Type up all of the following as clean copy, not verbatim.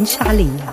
تهونش عليا.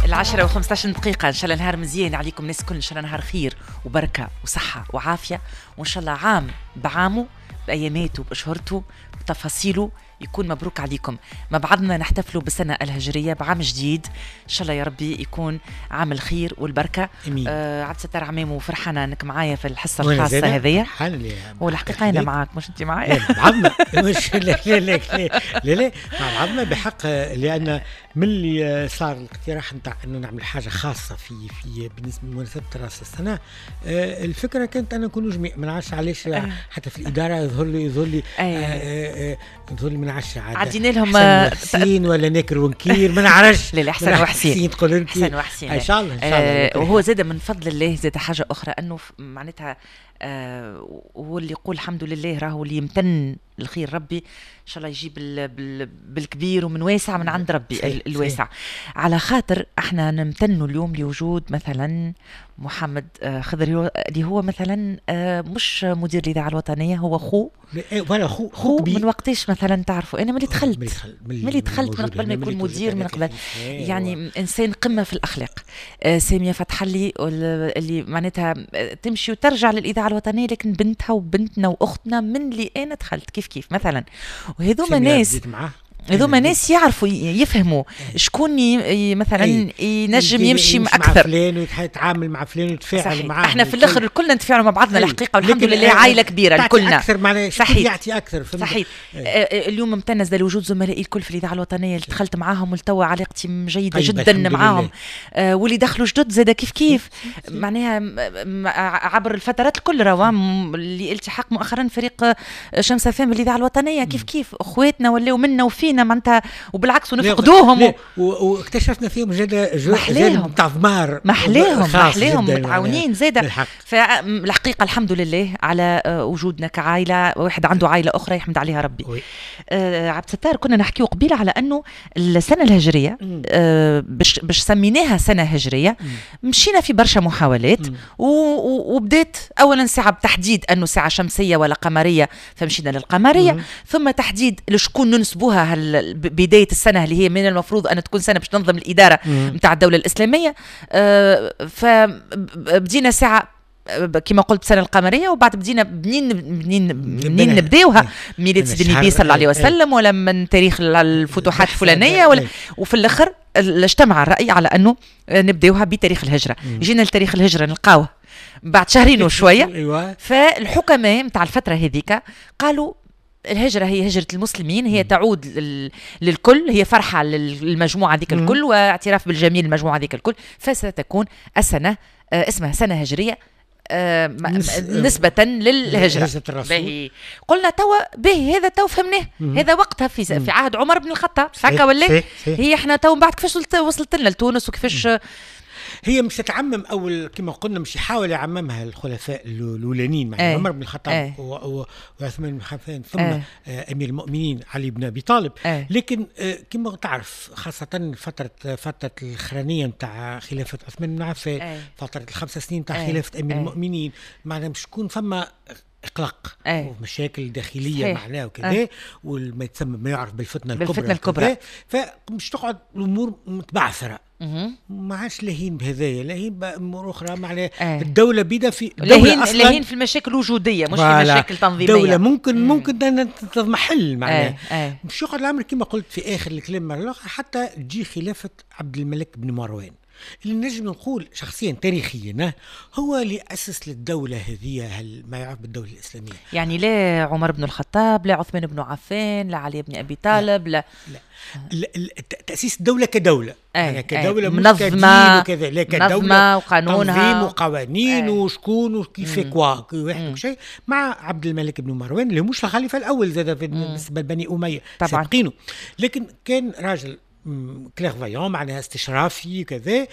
10:15، إن شاء الله نهار مزيان عليكم الناس الكل، إن شاء الله نهار خير وبركة وصحة وعافية، وإن شاء الله عام بعامة بأياماته بأشهرته بتفاصيله يكون مبروك عليكم. مع بعضنا نحتفلوا بالسنة الهجرية بعام جديد، إن شاء الله يا ربي يكون عام الخير والبركة. عبد الستار عمامو، فرحانة أنك معايا في الحصة الخاصة هذيا. والحقيقة أنا معاك مش أنت معايا. مع بعضنا مش لا لا لا لا لا مع بعضنا بحق، لأن من اللي صار الاقتراح نتاع أنه نعمل حاجة خاصة في بالنسبة لمناسبة رأس السنة، الفكرة كانت أن نكونوا جميع، ما نعرفش علاش حتى في الإدارة يظهر لي يظهر لي ما نعرفش عدينا لهم حسين ولا ناكر ونكير ما نعرفش. لا لا، حسن وحسين تقول انت حسن وحسين ان شاء الله ان شاء الله. وهو زاد من فضل الله زاد حاجة اخرى انه معناتها هو اللي يقول الحمد لله، راهو اللي يمتن الخير ربي ان شاء الله يجيب بالكبير ومن واسع من عند ربي الواسع. على خاطر احنا نمتنوا اليوم لوجود مثلا محمد خضر اللي هو مثلا مش مدير الاذاعة الوطنية، هو خو ولا خو من وقتاش مثلا تعرفوا؟ انا ملي دخلت من قبل ما يكون مدير، من قبل يعني انسان قمة في الاخلاق. سامية فتحلي اللي معناتها تمشي وترجع للاذاعة الوطنية، لكن بنتها وبنتنا واختنا من اللي انا دخلت كيف كيف مثلا. وهذوما ناس، هذوما ناس يعرفوا يفهموا شكون مثلا ينجم يمشي اكثر مع فلان ويتعامل مع فلان ويتفاعل معاه. احنا في الاخر الكلنا نتفاعلوا مع بعضنا الحقيقة، والحمد لله عائلة كبيرة الكلنا. اكثر صحيح، يعطي اكثر. صحيح. اليوم ممتنة لوجود زملائي الكل في الاذاعة الوطنية اللي دخلت معاهم ولتوا علاقتي جيدة جدا معاهم، واللي دخلوا جدد زاد كيف كيف معناها عبر الفترات الكل، راه اللي التحق مؤخرا فريق شمس فام بالاذاعه الوطنية كيف كيف، اخواتنا ولاو منا وفينا معناتها، وبالعكس ونفقدوهم واكتشفنا فيهم جانب تاع ضمار محلاهم متعاونين زاده. فالحقيقة الحمد لله على وجودنا كعائله، واحد عنده عائلة اخرى يحمد عليها ربي. عبد الستار، كنا نحكيو قبيلة على انه السنة الهجرية باش سميناها سنة هجرية، مشينا في برشا محاولات وبدات اولا ساعة بتحديد انه ساعة شمسية ولا قمريه، فمشينا للقمريه، ثم تحديد لشكون ننسبوها بداية السنة اللي هي من المفروض أن تكون سنة باش تنظم الإدارة متاع الدولة الإسلامية. فبدينا ساعة كما قلت السنة القمرية، وبعد بدينا منين نبداوها، ميلاد سيدنا النبي صلى الله عليه وسلم ولا من تاريخ الفتوحات الفلانية ولا، وفي الآخر اجتمع الرأي على أنه نبداوها بتاريخ الهجرة. جينا لتاريخ الهجرة نلقاوه بعد شهرين وشوية. فالحكماء متاع الفترة هذيك قالوا الهجرة هي هجرة المسلمين، هي تعود للكل، هي فرحة للمجموعة ذيك الكل واعتراف بالجميل المجموعة ذيك الكل، فستكون السنة اسمها سنة هجرية نسبة للهجرة. باهي قلنا توا باهي، هذا تو فهمناه، هذا وقتها في عهد عمر بن الخطاب هكا ولا؟ هي احنا تو من بعد كيفاش وصلت لنا لتونس وكيفاش هي مش تتعمم، اول كما قلنا مش يحاول يعممها الخلفاء الاولانيين مع عمر بن الخطاب وعثمان بن عفان ثم امير المؤمنين علي بن ابي طالب. لكن كما تعرف خاصة فترة الاخرانية نتاع خلافه عثمان بن عفان، فترة ال5 سنين نتاع خلافه امير المؤمنين، معناها مش تكون فما اقلاق ومشاكل داخلية معناها وكذا، وما يتسمى ما يعرف بالفتنه الكبرى، فمش تقعد الامور متبعثره، ما عادش لاهين بهذايا، لاهين بامور اخرى معناها. الدولة بيدا في لاهين في المشاكل الوجودية مش في مشاكل تنظيميه. الدولة ممكن تضمحل معناها. مش يقعد الامر كما قلت في اخر الكلام مرة الاخرى حتى تجي خلافه عبد الملك بن مروان، اللي نجم نقول شخصيا تاريخيا هو اللي أسس للدولة هذه ما يعرف بالدولة الإسلامية. يعني لا عمر بن الخطاب، لا عثمان بن عفان، لا علي بن أبي طالب، لا لا تأسيس الدولة كدولة، يعني كدولة منظمة وكذا، لا كدولة وقانونها تنظيم وقوانين وشكون وكيف كوا واحد وشيء، مع عبد الملك بن مروان اللي مش الخليفة الأول زاد بالنسبة لبني أمية سابقينه، لكن كان راجل clairvoyant معناها استشرافي كذا.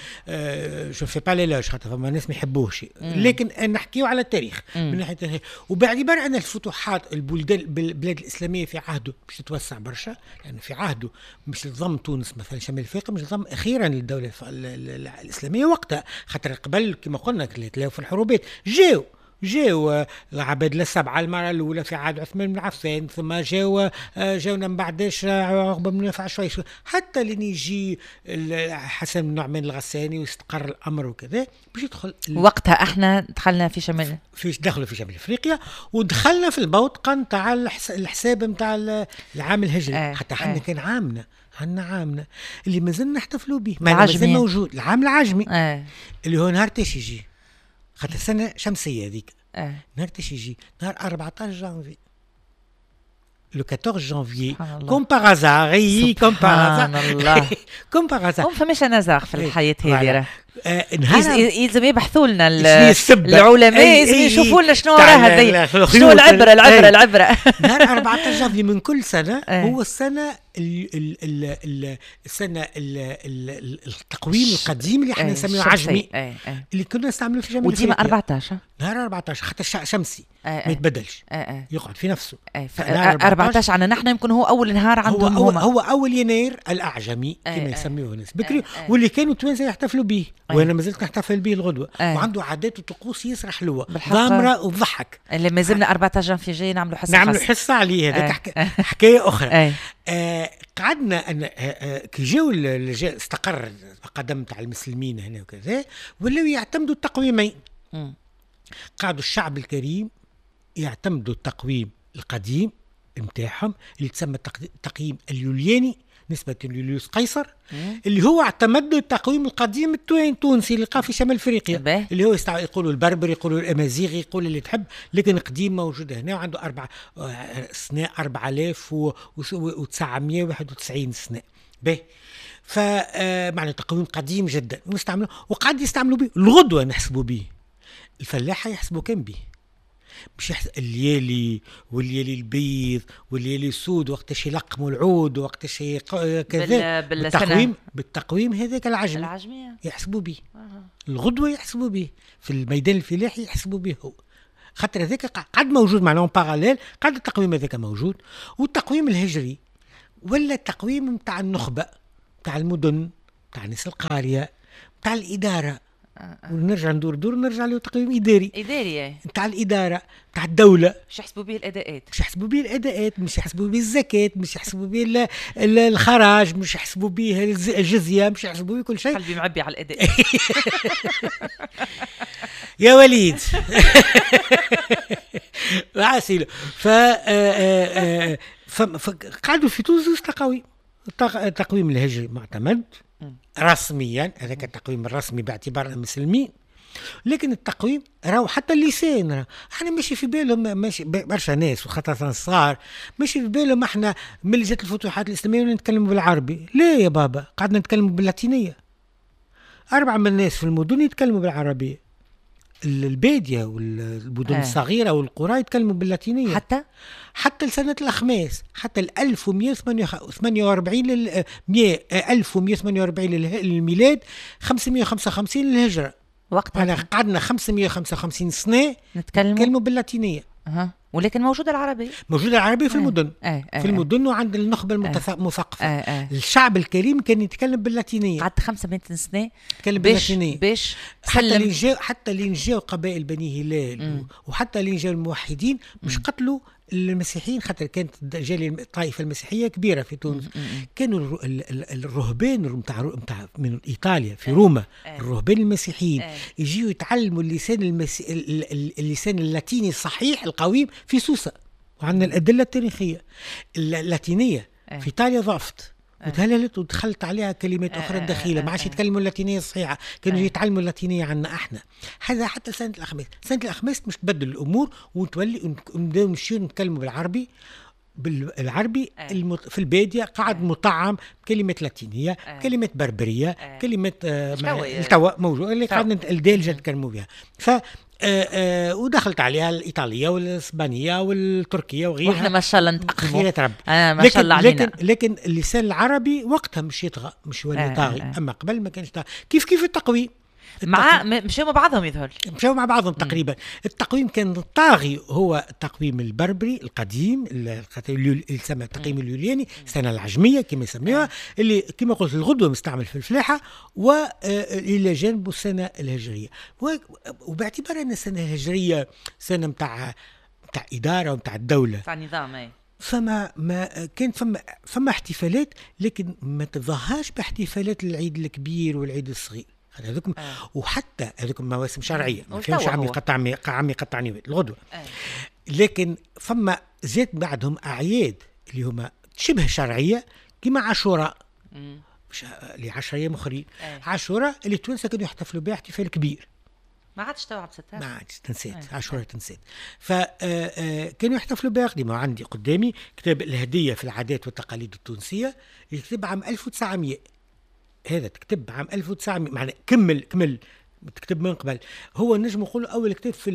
je fais pas l'éloge خاطر فما ناس ما يحبوهش، لكن نحكيو على التاريخ من ناحية التاريخ. وباعتبار ان الفتوحات البلدان البلاد الاسلامية في عهده مش تتوسع برشا، لان يعني في عهده مش تضم تونس مثلا شمال افريقيا، مش تضم اخيرا للدولة الاسلامية وقتها، خاطر قبل كما قلنا تلاقوا في الحروبات جاو جاو العباد السبعة المرة الاولى في عهد عثمان بن عفان، ثم جاونا من بعدش عقبه بن نافع شوي حتى لين يجي حسن بن نعمان الغساني ويستقر الامر وكذا باش يدخل. وقتها احنا دخلنا في شمال، دخلوا في شمال افريقيا ودخلنا في البوتقه نتاع الحساب نتاع العام الهجري. حتى احنا كان عامنا، عندنا عامنا اللي مازلنا نحتفلوا به، مازال موجود العام العجمي اللي هو نهار تاش يجي، خاطر السنة شمسية هذيك. نهار تاش يجي نهار 14 جانفي، le 14 janvier، comme par hasard، comme par hasard، comme par hasard. ما فماش hasard في الحياة هذه، يلزم يبحثوا لنا العلماء، يلزم يشوفوا لنا شنو وراها، شنو العبرة العبرة العبرة. نهار 14 جانفي من كل سنة هو السنة السنة التقويم القديم اللي احنا نسميه عجمي، اللي كنا نستعملوه في جامعه. وديما 14 نهار 14 حتى شمسي ما يتبدلش، يقعد في نفسه. 14 عندنا نحن يمكن هو اول نهار عندهم، هو اول يناير الاعجمي كما يسميوه الناس بكري، واللي كانوا التوانسة يحتفلوا به، وانا مازلت نحتفل به الغدوه. وعنده عادات وطقوس ياسر حلوة ضامره وتضحك. اللي مازلنا 14 جانفي جاي نعملوا حصة، نعملوا حصة عليه، هذاك حكاية اخرى. قعدنا ان كي جاو استقر القدم تاع المسلمين هنا وكذا، ولاو يعتمدوا التقويمين. قعدوا الشعب الكريم يعتمدوا التقويم القديم نتاعهم اللي تسمى التقييم اليولياني نسبة ليوليوس قيصر، اللي هو اعتمد التقويم القديم التونسي اللي لقاه في شمال افريقيا، اللي هو يقولوا البربر، يقولوا الامازيغي، يقولوا اللي تحب، لكن قديم موجود هنا وعنده سنة 4991 سنة به. فمعنى تقويم قديم جدا ونستعملوه، وقعد يستعملوا به الغدوة، نحسبوا به الفلاحة، يحسبوا كان به مش الليالي والليالي البيض والليالي السود، وقتاش يلقموا العود وقتاش كذا بالتقويم هذاك العجمي يحسبوا به. الغدوه يحسبوا به في الميدان الفلاحي، يحسبوا به هو، خاطر هذاك قعد موجود معناه parallèle، قعد التقويم هذاك موجود. والتقويم الهجري ولا التقويم نتاع النخبة، نتاع المدن، نتاع الناس القارية، نتاع الادارة. ونرجع ندور دور نرجع له تقويم اداري نتاع الادارة، نتاع الدولة. مش يحسبوا به الاداءات، مش يحسبوا به الاداءات، مش يحسبوا به الزكاة، مش يحسبوا به الخراج، مش يحسبوا به الجزية، مش يحسبوا به كل شيء. قلبي معبي على الاداءات. يا وليد عسيل. فقعدوا في تونس تقاويم. التقويم الهجري معتمد رسميا، هذاك التقويم الرسمي باعتبار المسلمين، لكن التقويم راهو حتى اللسان احنا ماشي في بالهم، ماشي برشا ناس وخاصة الصغار ماشي في بالهم احنا من اللي جات الفتوحات الإسلامية نتكلموا بالعربي. لا يا بابا، قعدنا نتكلموا باللاتينية. 4 من الناس في المدن يتكلموا بالعربية، البادية والمدن الصغيرة والقرى يتكلموا باللاتينية حتى لسنة الأخماس، حتى 1148 1148 للميلاد، 555 للهجرة. وقتها قعدنا 555 سنة نتكلموا باللاتينية. ولكن موجودة العربية، موجودة العربية في المدن، في المدن وعند النخبة المثقفة. الشعب الكريم كان يتكلم باللاتينية. قعدت 500 سنة يتكلم باللاتينية باش حتى اللي جاو قبائل بني هلال، وحتى اللي جاو الموحدين مش قتلوا المسيحيين، خاطر كانت جالية الطائفة المسيحية كبيرة في تونس. كانوا الرهبان نتاع من إيطاليا في روما، الرهبان المسيحيين يجيوا يتعلموا اللسان اللسان اللاتيني الصحيح القويم في سوسة، وعندنا الأدلة التاريخية. اللاتينية في إيطاليا ضعفت وتهللت ودخلت عليها كلمات أخرى دخيلة، ما عادش يتكلموا اللاتينية الصحيحة، كانوا يتعلموا اللاتينية عنا احنا. هذا حتى سنة الأخماس. سنة الأخماس مش تبدل الأمور وتولي نبداو نمشيو نتكلموا بالعربي، بالعربي في البادية قعد مطعم بكلمات لاتينية، بكلمات بربرية، بكلمات التوا موجود اللي قعدنا الدارجة نتكلموا بها. ف ودخلت عليها الإيطالية والإسبانية والتركية وغيرها، واحنا ما شاء الله نتأقلموا. خيرات ربي. ما شاء الله علينا. لكن اللسان العربي وقتها مش يطغى، مش يولي طاغي. أما قبل ما كانش طاغي. كيف التقويم. مع مشاو مع بعضهم يظهر مشاو مع بعضهم تقريبا. التقويم كان طاغي هو التقويم البربري القديم اللي يسمى التقويم اليولياني، السنة العجميه كما يسميوها، اللي كما قلت الغدوه مستعمل في الفلاحة، والى جانبه السنة الهجرية. وباعتبار ان السنة الهجرية سنة نتاع ادارة ونتاع الدولة، نتاع نظام، اي فما ما كان فما احتفالات، لكن ما تظهرش باحتفالات العيد الكبير والعيد الصغير هذوك. وحتى هذوك مواسم شرعية ما فيهمش عم يقطعني الغدوه. لكن فما زاد بعدهم اعياد اللي هما شبه شرعية كما عاشوراء اللي 10 ايام اخرين. عاشوراء اللي التوانسة كانوا يحتفلوا بها احتفال كبير، ما عادش تو عبد الستار، ما عادش تنسيت، عاشوراء تنسيت. فكانوا يحتفلوا بها قديما. عندي قدامي كتاب الهدية في العادات والتقاليد التونسية، يكتب عام 1900. هذا تكتب عام 1900، معناه كمل تكتب من قبل. هو نجم نقول اول كتاب في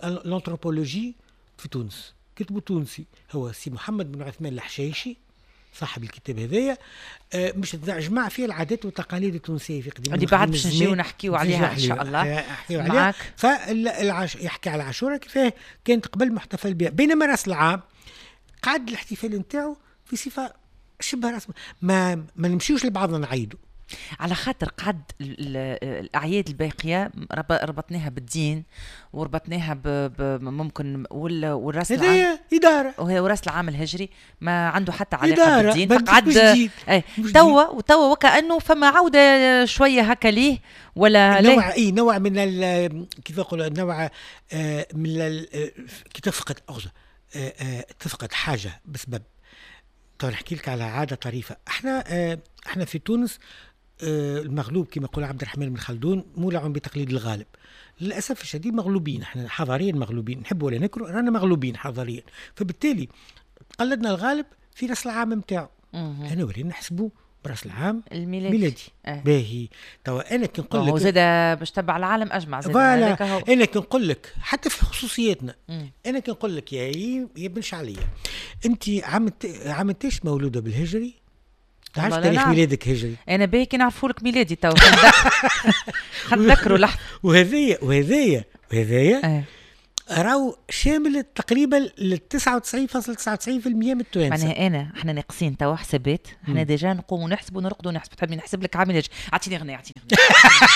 الانثروبولوجي في تونس كتبه تونسي، هو سي محمد بن عثمان الحشايشي صاحب الكتاب هذايا. مش جمع فيه العادات والتقاليد التونسية في قديم اللي بعد باش نجيو نحكيو عليها ان شاء الله. عليها. يحكي على عاشوراء كيفاه كانت قبل محتفل بها، بينما راس العام قعد الاحتفال نتاعو في صفة شبه رسمية، ما نمشيوش لبعضنا نعيدوا على خاطر قعد الاعياد الباقية ربطناها بالدين وربطناها ممكن والراس العام ادارة، وهي وراس العام الهجري ما عنده حتى علاقة بالدين، فقعد توا وكانه فما عوده شوية هكا ليه ولا نوع اي نوع من كيف نقول نوع من كي تفقد تفقد حاجة بسبب. تو نحكي لك على عادة طريفه. احنا في تونس المغلوب كما يقول عبد الرحمن بن خلدون مولع بتقليد الغالب. للاسف الشديد مغلوبين احنا حضاريا، مغلوبين نحب ولا نكره رانا مغلوبين حضاريا، فبالتالي قلدنا الغالب في راس العام نتاعو. انا ولينا نحسبوا براس العام الميلادي. باهي توا انا كي نقول لك وزاد باش تبع العالم اجمع زاد انا كي نقول لك حتى في خصوصياتنا. انا كي نقول لك يا بن شعليه انت عامتاش مولودة بالهجري، تعرف تاريخ ميلادك هجري؟ انا باهي كي نعرفوا لك ميلادي تو خلينا نذكروا لحظة. وهذايا راهو شامل تقريبا ل 99.99% من التوانسة. معناها انا احنا ناقصين توا حسابات، احنا déjà نقوموا نحسبوا ونرقدوا ونحسبوا. تحبني نحسب لك عامل؟ اعطيني غنية اعطيني غنية.